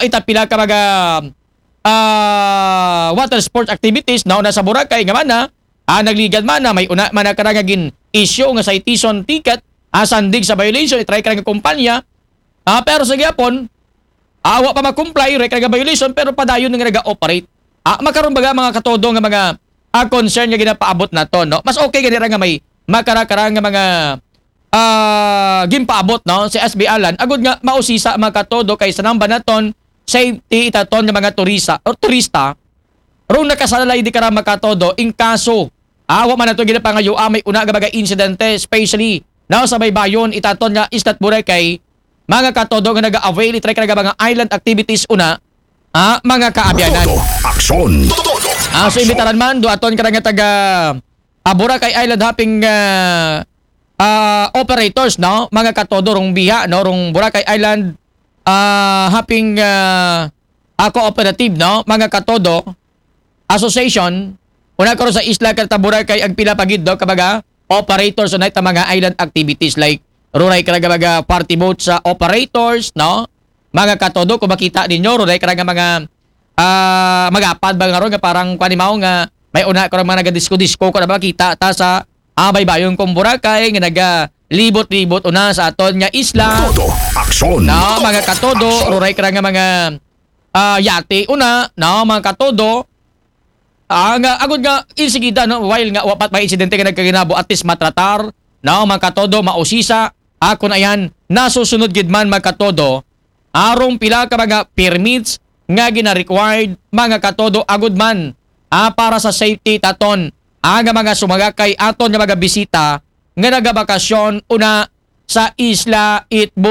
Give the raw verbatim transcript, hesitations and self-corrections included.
ita pila ka mga ah, water sports activities, no, na sa Boracay nga mana, ah, nagligad mana, may una mana karang nga gin-issue nga citation ticket, ah, sandig sa violation, itry karang nga kumpanya, ah, pero sa gihapon, ah, wa pa ma-comply, itry karang nga violation, pero padayon nga naga-operate. Ah, makaron baga mga katodo nga mga, ah, concern nga ginapaabot nato, no? Mas okay gani ra nga may makara-kara nga mga, ah, gimpaabot, no, si S B Alan, agud nga mausisa mga katodo kay sa namba naton safety itaton nga mga turista or turista, rong nakasalalay di kara mga katodo in kaso, ah, wa man nato ginapangayo, ah, may una nga mga insidente, especially now sa baybayon itaton nga isla Boracay, mga katodo nga naga-avail itry karang nga mga island activities una, ah, mga kaabyanan. Todo aksyon. Todo Ah, so aksyon. Imbitaran man do aton karang nga taga, ah, Boracay Island Hopping, ah, ah, operators, no, mga katodo, rong biha, no, rong Boracay Island, ah, Hopping, ah, ah, Cooperative, no, mga katodo, association, una karon sa isla karta Boracay ang pila pa gid, no, ka mga operators, so na ita mga island activities like rong itry karang nga mga party boat sa operators, no, mga katodo, kung makita ninyo, rong itry karang nga mga, ah, magapad ba nga ron nga parang kuan, mao nga may una karang mga nagadisco-disco, kung na makita ta sa, ah, baybayon kong Boracay nga nagalibot-libot una sa aton nga isla. Todo aksyon. No, mga katodo, rong itry karang nga mga, ah, yate una, no, mga katodo. Ah, nga agud nga insigida, no, while nga wa pa may insidente nga nagkaginabo, at least matratar, no, mga katodo, mausisa, ah, kun ayan, nasusunod gid man mga katodo, arong pila ka mga permits nga gina-required mga katodo, agud man, ah, para sa safety taton, ah, nga mga sumagakay aton nga mga bisita nga nagabakasyon una sa isla Itbo.